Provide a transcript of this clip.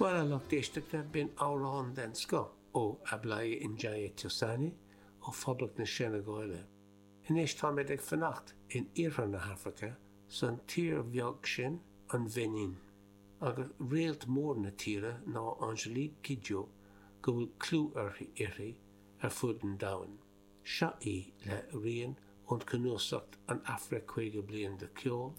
Bhuel, a lucht éisteachta, b'in amhrán den scoth ó Ablaye Ndiaye Thiossane ó Phoblacht na Seineagáile. Anois táimid ag fanacht in iarthar na hAfraice, san tír bheag sin, an Bheinin. Agus réalt mór na tíre ná Angélique Kidjo, go bhfuil clú uirthi ar fud an domhain. Seo í le rian ón cnuasacht An Afraic 50 Bliain de Cheol.